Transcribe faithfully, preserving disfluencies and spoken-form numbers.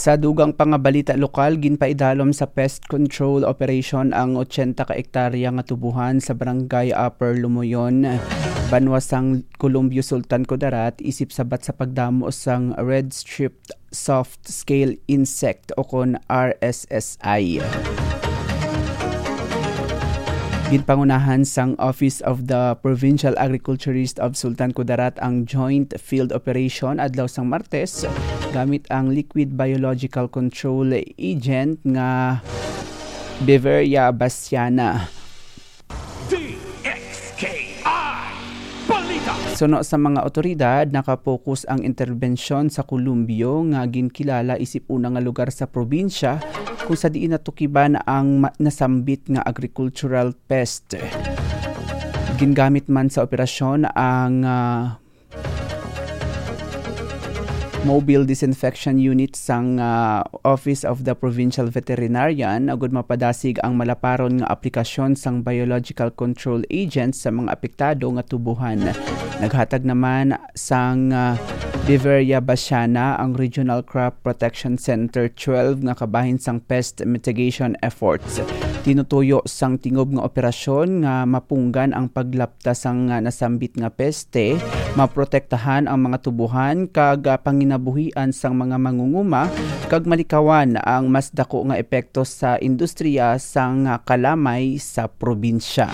Sa dugang pa nga balita lokal, ginpaidalom sa pest control operation ang ochenta ka ektarya nga tubuhan sa Barangay Upper Lumoyon, banwa sang Colombio, Sultan Kudarat, isip sabat sa pagdamo sang red-striped soft scale insect o kon R S S I. Ginpangunahan sang Office of the Provincial Agriculturist of Sultan Kudarat ang joint field operation adlaw sang Martes gamit ang liquid biological control agent nga Beveria bassiana. D X K I Balita. Suno sa mga otoridad, nakapokus ang interbensyon sa Columbio nga ginkilala isip una nga lugar sa probinsya kung sa diin natukiban ang ma- nasambit nga agricultural pest. Gingamit man sa operasyon ang ah, mobile disinfection unit sang ah, Office of the Provincial Veterinarian agud mapadasig ang malaparon nga aplikasyon sang biological control agent sa mga apektado nga tubuhan. Naghatag naman sang ah, Beveria Basiana ang Regional Crop Protection Center twelve nga kabahin sang pest mitigation efforts. Tinutuyo sang tingob nga operasyon nga mapunggan ang paglapta sang ah, nasambit nga peste, maprotektahan ang mga tubuhan kag ah, panginabuhian sang mga mangunguma, kag malikawan ang mas dako nga epekto sa industriya sang ah, kalamay sa probinsya.